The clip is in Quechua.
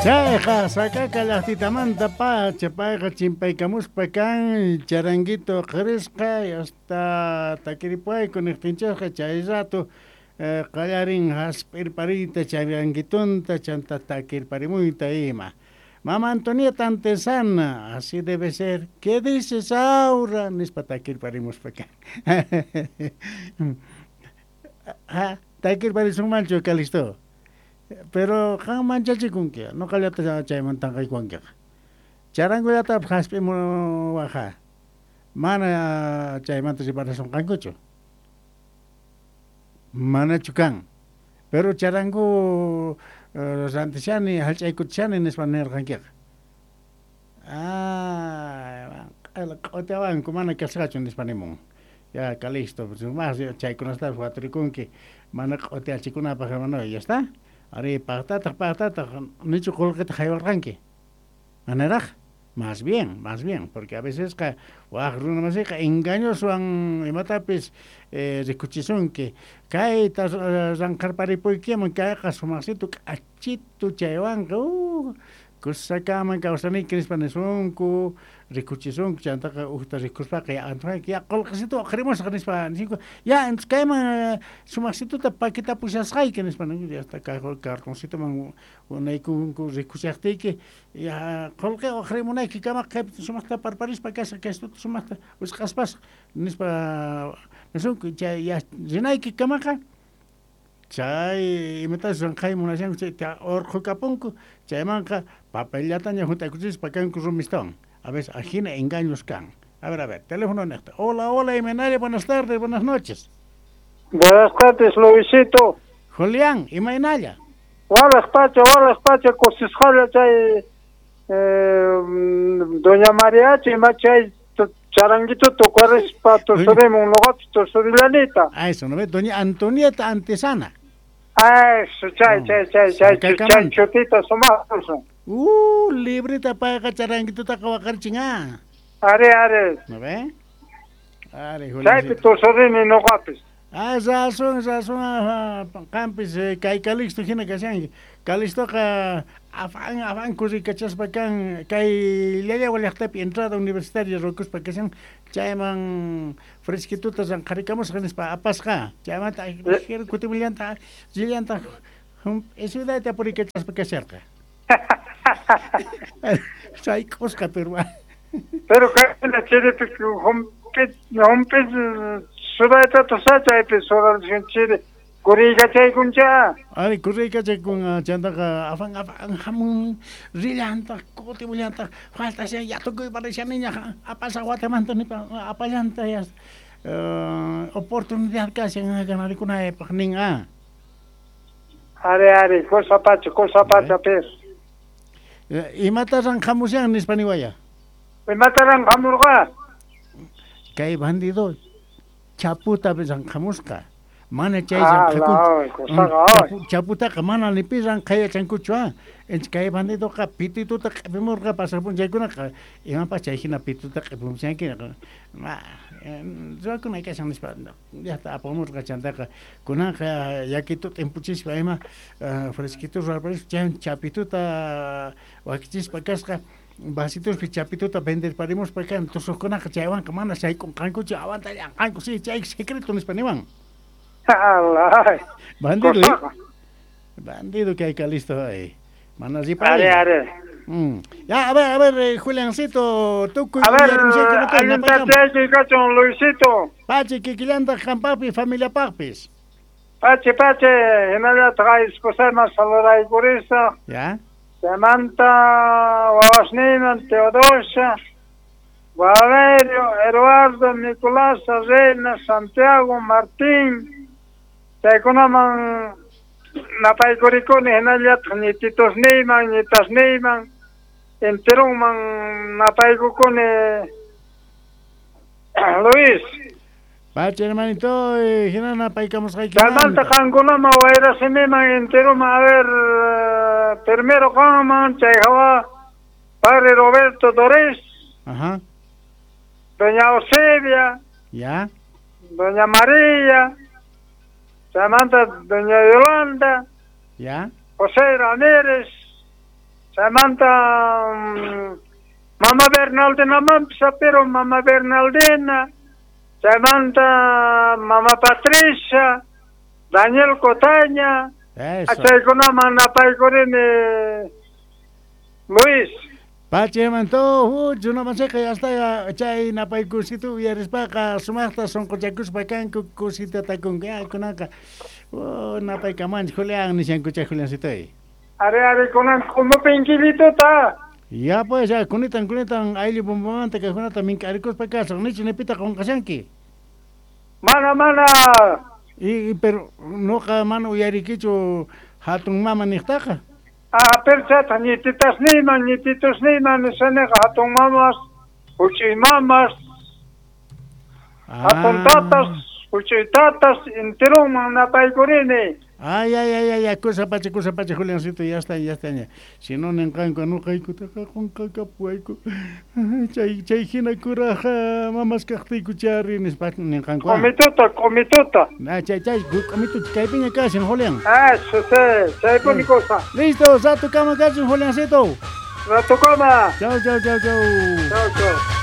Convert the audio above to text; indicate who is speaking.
Speaker 1: Chayqa Sakaka llaqtitamanta pacha payqa chimpaykamuspa kan charanguito qirisqa hasta takiripuayku niqtinchikqa chay rato qallarin hasp'irpariyta charanguitunta chanta takirparimuyta ima. Mama Antonieta Antesana, así debe ser. ¿Qué dices, Aura? Nispa takirparimuspa kan. Ha, takirparisunmanchu, Calisto? Pero qam manchachikunki, ñuqallata chayman tanqaykuwankiqa. Charangullatapas hasp'imuwaqa. Mana chaymanta riparasunqankuchu. Manachu kan. Pero charangu rantishani, hallch'aykuchishani nispa nirqankiqa. Ah, q'utiawanku mana kasqachu nispa nimun. Ya, Calixto, más chaykunatapas waturikunki mana q'utiachikunapaq hermano, ya está. Ari, paqtataq, paqtataq, nichu qullqita haywarqanki. Manaraq? Más bien, porque a veces qa waq runa masiqa engañoswan imatapis rikuchisunki kayta ranqarparipuykiman kayqa sumaqsitu k'achitu chaywanqa kusakaman kawsanayki nispa nisunku rikuchisunku chantaqa ukta rikuspaqa ya antojanki ya qullqisitu uqharimusaq nispa nisinku ya entonces kayman sumaqsituta paquetapushasqayki nispa ninku ya está cartoncitoman unaykunku rikuchaqtiyki ya qullqi uqharimunayki kamaqa kaypi sumaqta parparispa kasqa kaystuta sumaqta wisq'aspasqa nispa nisunku chay ya rinayki kamaqa chay imatachus ranqhay munashanku chayta urqhukapunku chaymanqa papellataña hunt'aykuchispa kanku rumistawan. A veces ajina engaños kan. A ver, teléfono niqta. Hola, hola, imaynalla, buenas tardes, buenas noches.
Speaker 2: Buenas tardes, Luisito.
Speaker 1: Julián, imaynalla.
Speaker 2: Walaq pacha, kusisqalla chay doña Mariachi ima chay charanguito tukarispa tusurimun nuqapis tusurillanita.
Speaker 1: Ah, eso, ¿no ves? Doña Antonieta Antesana.
Speaker 2: Ah, eso, chay, chay, chutita sumaqtusun.
Speaker 1: Librita payqa charanguitutaqa waqarichin, ah.
Speaker 2: Are, are.
Speaker 1: ¿No ve? Are, Julián.
Speaker 2: Chaypi tusurini nuqapis.
Speaker 1: Ah, razón, qampis kay Calixto hina kashanki. Calixtoqa afán kurrikachaspa kan kay Llallagua llaqtapi entrada universitaria rukuspa kashan chayman fresquituta ranqharikamusqa nispa apasqa chaymanta kutimillanta rillanta ciudadta purikachaspa kasharqa. Sayk'usqa pero
Speaker 2: Pero kayna chiripi hump'is sudayta chaypi sudalchin chiri kuriykachaykuncha.
Speaker 1: Ari kuriykachaykun chantaqa afán hamun rillantaq kutimullantaq faltashan yatukuy parishaniña apasaq watamanta nipa apallanta ya oportunidad kashan ganarikunaypaq nin ah.
Speaker 2: Are, cosa pacha per.
Speaker 1: Imata ranqhamushan nispa niwaya.
Speaker 2: Imata ranqhamurqa?
Speaker 1: Kay bandido chaputa ranqhamusqa. Mana chay ranqhakunchu. Chaputaqa mana ni pi ranqhayachankuchu ah. Kay bandidoqa pitituta q'ipimurqa pasaq p'unchaykunaqa imapas chay hina pituta q'ipimushanki ruwakunay kashan nispa llaqta apamurqa chantaqa kunanqa yakituta t'impuchispa ima fresquito ruwarparispa chay chapituta wakichispa kasqa vasituspi chapituta venderparimuspa kan tusuqkunaqa chaywanqa mana sayk'unqankuchu aguantallanqanku sí chay secreto nispa niwan.
Speaker 2: Alay.
Speaker 1: Bandido. Bandido que hay Calisto ahí. Mana ripari.
Speaker 2: Are.
Speaker 1: Ya, a ver, Juliancito, tukuy.
Speaker 2: A ver, allintatayki Luisito.
Speaker 1: Pachi kikillantaq qampaqpi familiapaqpis.
Speaker 2: Pachi, hinallataq esposayman saludaykurisa.
Speaker 1: Ya.
Speaker 2: Samantha, wawasniman, Teodosia, Valerio, Eduardo, Nicolás, Reina, Santiago, Martín, chaykunaman napaykurikuni hinallataq ñititusniyman, ñitasniyman, enterunman napaykukuni Luis.
Speaker 1: Pacha, hermanito, hina napaykamusqayki.
Speaker 2: Chaymanta qankunaman wayrasimiman enteruman, a ver, primero qanman, chay hawa padre Roberto Dorés.
Speaker 1: Ajá.
Speaker 2: Doña Eusebia.
Speaker 1: Ya.
Speaker 2: Doña María. Samantha, Doña Yolanda.
Speaker 1: Ya.
Speaker 2: José Ramírez. Samantha Mama Bernaldina mampis pero Mama Bernaldina, Samantha Mama Patricia, Daniel Cotaña, achaykunaman napaykurini Luis.
Speaker 1: Pachamanto, huchunamanchikqa yasta chay napaykusitu uyarispaqa sumaqta sunquchakuspa kanku kusita takunku kunaqa napaykamanchik Julián nishanku chay Juliancitoy.
Speaker 2: Are are kunan q'umupinkillituta.
Speaker 1: Ya pues ya kunitan kunitan ayllu bombamanta kaqkunata mink'arikuspa kasaq nichu nipita qunqashanki.
Speaker 2: Mana mana.
Speaker 1: Y pero nuqa mana uyarikichu hatun mama niqtaqa.
Speaker 2: Ah, pero ñititasniyman ñititusniyman nisaniqa hatun mamas, huch'uy mamas, hatun tatas, huch'uy tatas, enteronman napaykurini.
Speaker 1: Ay, ay, ay, ay, ay, kusa pacha, Juliancito, ya está, ya está, ya. Si no, ninqanku, nuqaykutaqa qunqakapuwayku. Chay, chay hina kuraqa mamas kaqtiyku chari nispa ninqanku.
Speaker 2: Q'umituta, q'umituta.
Speaker 1: Ah, chay, chay, q'umitu kaypiña kashan, Julián.
Speaker 2: Ah, sí, chaypuni cosa.
Speaker 1: Listo, ratukama kashan, Juliancito.
Speaker 2: Ratukama.
Speaker 1: Chau, chau, chau, chau.
Speaker 2: Chau, chau.